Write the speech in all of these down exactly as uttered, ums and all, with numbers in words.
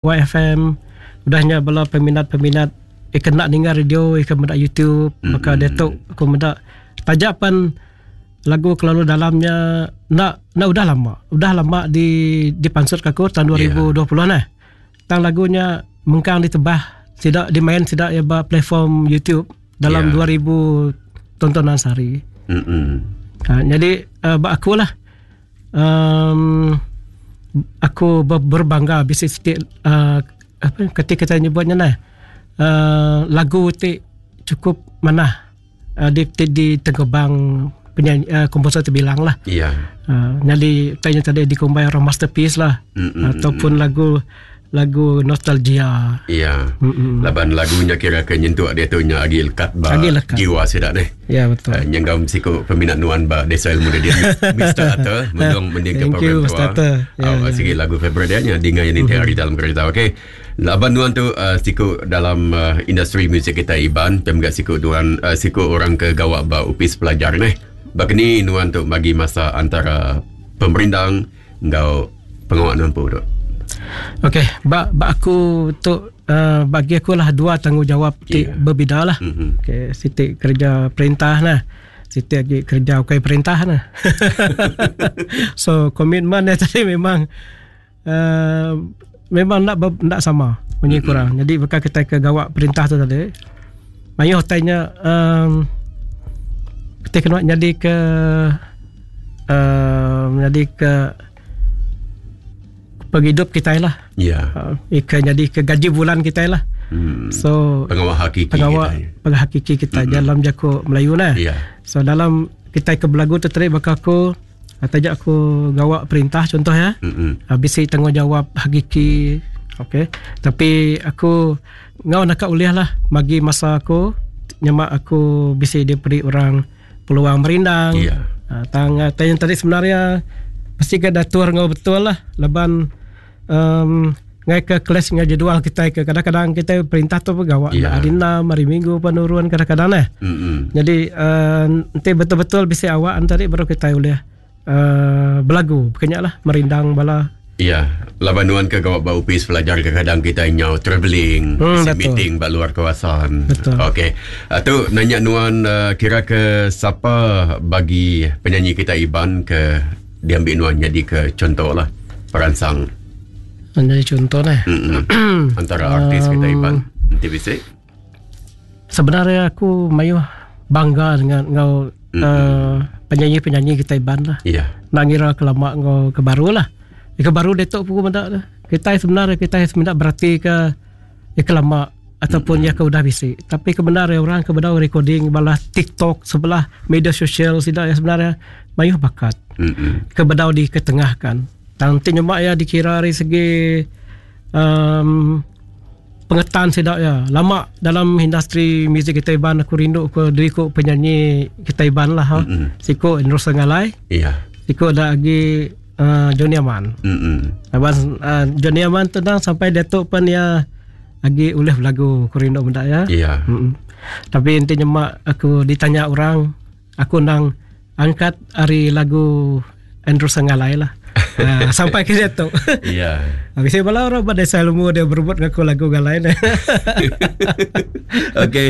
Y F M udahnya bala peminat-peminat eh kena ninga radio, eh meda YouTube mm-hmm. Maka dia tu aku meda tajapan lagu Kelalu Dalamnya nak nak udah lama udah lama di dipansut ke aku tahun dua ribu dua puluh yeah. Nah, tang lagunya mengkang ditebah tidak dimain tidak ya ba platform YouTube dalam yeah. dua ribu tontonan sehari. Mm-hmm. Ha, jadi uh, bak aku lah um, aku ber- berbangga bisa sikit uh, apa ketika kita nyebutnya nah uh, lagu ti cukup mana uh, di di, di tengkebang penyanyi, uh, komposer terbilang lah. Iya. Uh, jadi tanya tadi dikumbai orang masterpiece lah Mm-mm. ataupun lagu lagu nostalgia. Iya. Mm-mm. Laban lagunya kira ke nyentuk dia tu nya agi lekat ba Agi lekat. Jiwa sidak deh. Ya, betul. Uh, nyenggam siku peminat nuan ba Desa Ilmu dia, Mister Arthur mendung mending ke Thank you, program Mister tua. Arthur. Ya, Oh, ya. sigi lagu favorite dia nya dinga yang mm-hmm. hari dalam kereta. Okey. Laban nuan tu uh, siku dalam uh, industri muzik kita Iban, pem gak siku tuan uh, siku orang ke gawak ba upis pelajar ni. Bagini nuan tu bagi masa antara pemerindang ngau pengawak nuan tu. Okey, ba, ba aku tu uh, bagi aku lah dua tanggungjawab ti Ya. berbeza lah. Mhm. Okey, siti kerja perintah lah. Siti lagi kerja ukai perintah lah. So komitmen dia tadi memang uh, memang nak ber, nak sama bunyi mm-hmm. kurang. Jadi bekal kita ke gawak perintah tu tadi. Mayuh tanya um, kita kena jadi ke uh, jadi ke penghidup kita lah. Ya. Uh, ikan jadi ke gaji bulan kita lah. Hmm. So pengawak hakiki pengawak kita. Pengawak hakiki kita mm-hmm. dalam jako Melayu lah. Ya. So dalam kita ke belagu tu tadi bakal aku atau aku gawak perintah contoh ya. Mm-mm. Habis tanggungjawab hakiki. Okey. Tapi aku ngau nak uliah lah bagi masa aku nyemak aku bisa diberi orang peluang merindang. Ya. Ha, tang tanya tadi sebenarnya pasti ke datur ngau betul lah laban um, ngai ke kelas ngai jadual kita ke kadang-kadang kita perintah tu pegawai Ya. hari enam, hari Minggu penurun kadang-kadang lah. Mm-mm. Jadi uh, nanti betul-betul bisa awak tadi baru kita boleh uh, belagu bukannya lah merindang bala. Ya, laban nuan ke gawak bau upis pelajar kadang kita nyau travelling, Hmm, si betul. meeting ba luar kawasan. Betul. Okey. Uh, tu nanya nuan uh, kira ke siapa bagi penyanyi kita Iban ke diambil nuan jadi ke contoh lah perangsang. Jadi contoh lah. Mm-mm. Antara artis kita Iban. Nanti bisa. Sebenarnya aku mayuh bangga dengan ngau Mm-mm. uh, penyanyi-penyanyi kita Iban lah. Ya. Nak ngira ke lama ngau ke baru lah. Ke baru dia tu pun benda lah. Kita sebenarnya kita sebenarnya berarti ke ya ke lama ataupun mm-hmm. ya ke udah bisi. Tapi kebenaran orang ke bedau recording balah TikTok sebelah media sosial sidak ya sebenarnya mayuh bakat. Mm-mm. Ke bedau diketengahkan. Nanti nyemak ya dikira dari segi um, pengetan sidak ya. Lama dalam industri muzik kita Iban aku rindu ke diri ko penyanyi kita Iban lah. Ha. Mm-mm. Siko Andrew Ngalai, Ya. siko ada lagi uh, Johnny Aman. Mm-mm. Abang uh, Johnny Aman tentang sampai datuk pun ya lagi ulih belagu aku rindu benda ya. Ya. Mm-mm. Tapi intinya mak aku ditanya orang aku nang angkat hari lagu Andrew Sangalai lah. Uh, sampai ke situ. Ya. Habis saya bala orang pada saya ilmu dia berebut ngaku lagu galai ni. Okey,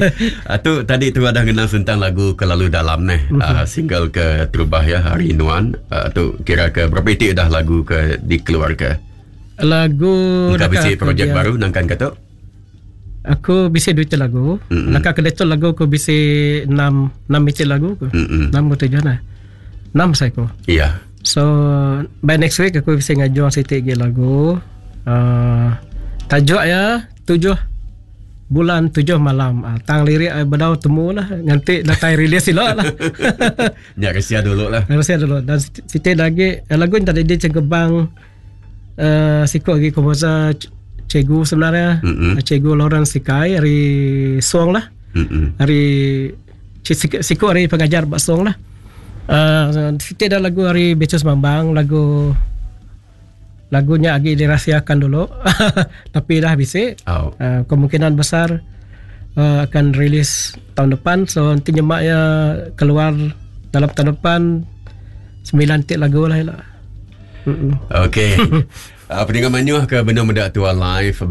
uh, tu tadi tu ada kenal tentang lagu Kelalu Dalam ni. Uh, single ke terubah ya hari Nuan. Uh, tu kira ke berapa itik dah lagu ke dikeluar ke? Lagu Engkau dekat bisi aku projek dia- baru nangkan kata? Aku bisa duit lagu. Mm-mm. Laka ke tu lagu aku bisa enam enam itik lagu aku. Mm-mm. Enam ke tujuh lah. Enam saya aku. Ya. So by next week aku bisa ngajual sitik lagi lagu. Uh, tajuk ya tujuh bulan tujuh malam. Uh, tang lirik uh, bedau temu lah. Nanti datang rilis sila lah. Nyak rahsia dulu lah. Rahsia dulu. Dan sitik lagi eh, lagu ni tadi dia cengkebang uh, sikut lagi komposer cikgu sebenarnya. Mm-mm. Cikgu Lawrence Sikai dari Suang lah. Mm-mm. Hari sikut hari pengajar bak Suang lah. Uh, sitik dah lagu hari Becus Mambang, lagu lagunya lagi dirahsiakan dulu tapi dah bisik. Oh. Uh, kemungkinan besar uh, akan rilis tahun depan, so nanti nyemaknya keluar dalam tahun depan sembilan tik lagu lah lah. Okey. Uh, pendengar manyuh ke benar meda tua live.